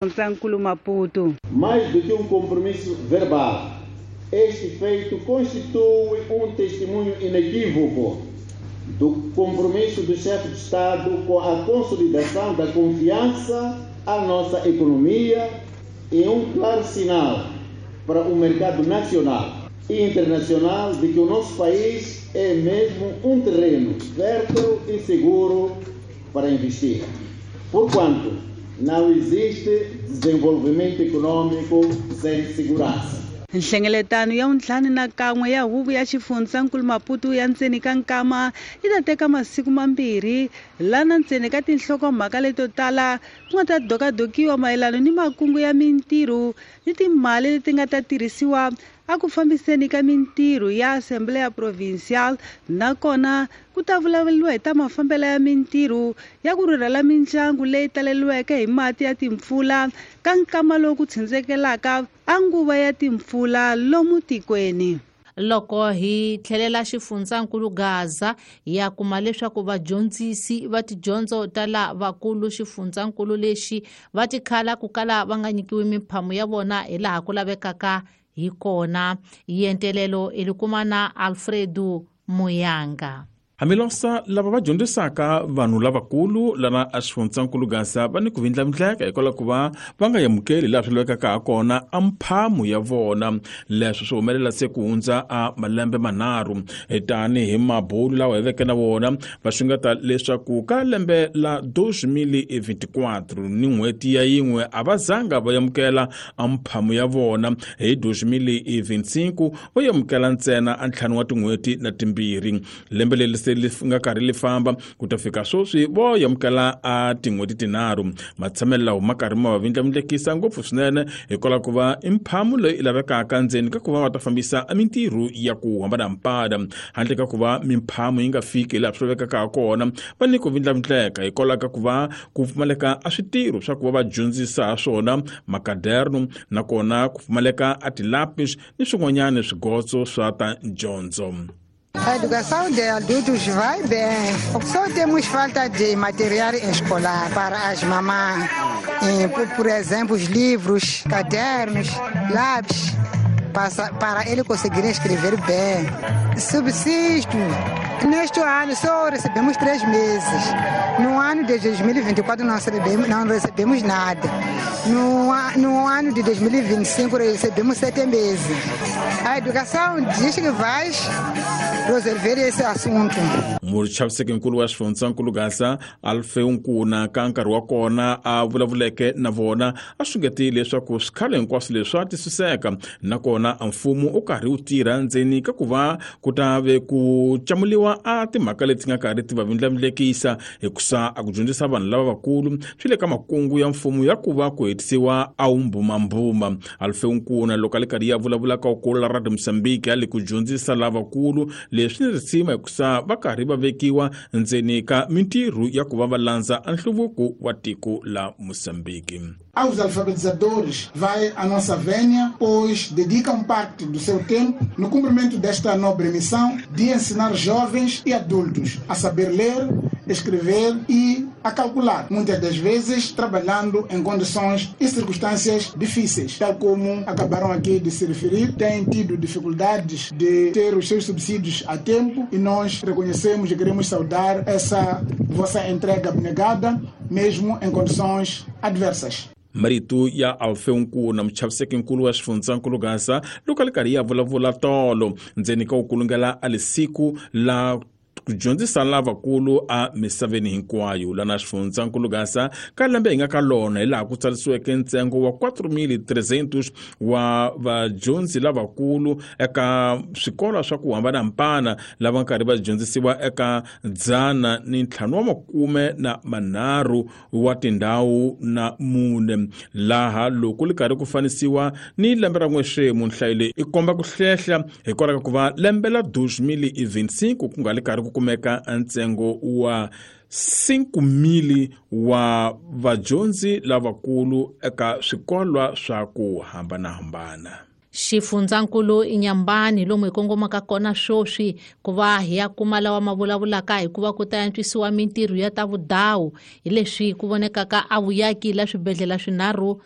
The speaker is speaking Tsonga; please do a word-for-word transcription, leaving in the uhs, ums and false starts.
Xifundzhankulu Maputo. Mais do que um compromisso verbal, este feito constitui um testemunho inequívoco do compromisso do chefe de Estado com a consolidação da confiança à nossa economia e um claro sinal para o mercado nacional e internacional de que o nosso país é mesmo um terreno fértil e seguro para investir. Porquanto não existe desenvolvimento econômico sem segurança. Nhlengeletano ya vuntlhanu na kan'we ya huvo ya xifundzankulu Maputo ya ndzeni ka nkama yi ta teka masiku mambirhi lana ndzeni ka tinhlokomhaka leto tala ku nga ta dokadokiwa mayelana ni makungu ya mintirho ni timali leti nga ta tirhisiwa a ku fambiseni ka mintirho ya Assembleia Provincial, nakona ku ta vulavuriwa hi ta mafambelo ya mintirho ya ku rhurhela mindyangu leyi taleriweke hi mati ya timpfula ka nkama lowu ku tshindzekelaka a nguva ya timpfula lomu tikweni. Loko hi tlhelela xifundzankulu Gaza ya kuma leswaku vadyondzisi va tidyondzo ta lavakulu xifundzankulu lexi va tikhala ku kala va nga nyikiwi miphamu ya vona hi laha ku lavekaka hi kona. Yentelelo i kuma na Alfredo Muyanga. Hambilosa lava va dyondzisaka vanhu lavakulu lana a xifundzankulu Gaza va ni ku vindlavindleka hikwalaho ku va va nga amukeli laha swi lavekaka ha kona a mphamu ya vona. Leswi swi humelela se ku hundza a malembe manharhu tanihi mabulu lawa hi veke na vona va xungeta leswaku ka lembe la dos mil e vinte e quatro ni n'hweti ya yin'we a va zanga va amukela a mphamu ya vona. Hi dos mil e vinte e cinco va amukela ntsena a ntlhanu wa tin'hweti na timbirhi. Lembe leri se li nga karhi li famba ku ta fika sweswi vo amukela a tin'hweti tinharhu. Matshamelo lawa ma karhi ma va vindlavindlekisa ngopfu swinene hikwalaho ku va i mphamu leyi lavekaka ndzeni ka ku va va ta fambisa mintirho ya ku hambanahambana. Handle ka ku va mimphamu yi nga fiki laha swi lavekaka ha kona, va ni ku vindlavindleka hikwalaho ka ku va ku pfumaleka a switirho swa ku va va dyondzisa ha swona makaderno, nakona ku pfumaleka a tilapis ni swin'wanyana swigotso swa ta dyondzo. A educação de adultos vai bem. Só temos falta de material escolar para as mamães. Por, por exemplo, os livros, cadernos, lápis, para, para ele conseguir escrever bem. Subsisto. Neste ano só recebemos três meses. No ano de dois mil e vinte e quatro não recebemos, não recebemos nada. No, no ano de dois mil e vinte e cinco recebemos sete meses. A educação diz que vai resolver esse assunto. Muchavisekinkulu wa xifundzankulu Gaza Alfeu Nkuna ka nkarhi wa kona a vulavuleke na vona a xungetile leswaku swikhalo hinkwaswo leswi swa twisiseka, nakona a mfumo u karhi wu tirha ndzeni ka ku va ku ta ve ku camuliwa a timhaka leti nga karhi ti va vindlavindlekisa hikusa a ku dyondzisa vanhu lava vakulu swi le ka makungu ya mfumo ya ku va ku hetisiwa a wumbumbuma. Alfeu Nkuna loko a le karhi ya vulavula ka ukulu la Radio Mozambique ya le ku dyondzisa lavakulu leswi ni risima hikusa va karhi va vekiwa ndzeni ka mintirho ya ku va va landza nhluvuko wa tiko la Mozambique. Aos alfabetizadores vai a nossa vénia, pois dedicam parte do seu tempo no cumprimento desta nobre missão de ensinar jovens e adultos a saber ler, escrever e a calcular, muitas das vezes trabalhando em condições e circunstâncias difíceis, tal como acabaram aqui de se referir, têm tido dificuldades de ter os seus subsídios a tempo e nós reconhecemos e queremos saudar essa vossa entrega abnegada, mesmo em condições adversas. Marito ya Alfeu Nkuna muchavisekinkulu wa xifundzankulu Gaza loko a le karhi ya vulavula tolo ndzeni ka ukulungela a lisiku la ku dyondzisa lavakulu a misaveni hinkwayo. Lana xifundzankulu Gaza ka lembe hi nga ka lona hi laha ku tsarisiweke ntsengo wa quatro mil trezentos wa vadyondzi lavakulu eka swikolo swa ku hambanahambana lava nkarhi va dyondzisiwa eka dzana ni ntlhanu wa makume na manharhu wa tindhawu na mune, laha loko li karhi ku fanisiwa ni lembe ra n'wexemu nhlayo leyi i komba ku hlehla hikwalaho ka ku va lembe la dos mil e vinte e cinco ku nga li karhi ku kumeka ntsengo wa cinco mil wa vadyondzi lavakulu eka swikolwa swa ku hambanahambana. Xifundzankulu Inhambane lomu hi kongomaka kona sweswi ku va hi ya kuma lawa ma vulavulaka hikuva ku ta antswisiwa mintirho ya ta vudawu hi leswi ku vonekaka a vuyaki la swibedhlele swinharhu.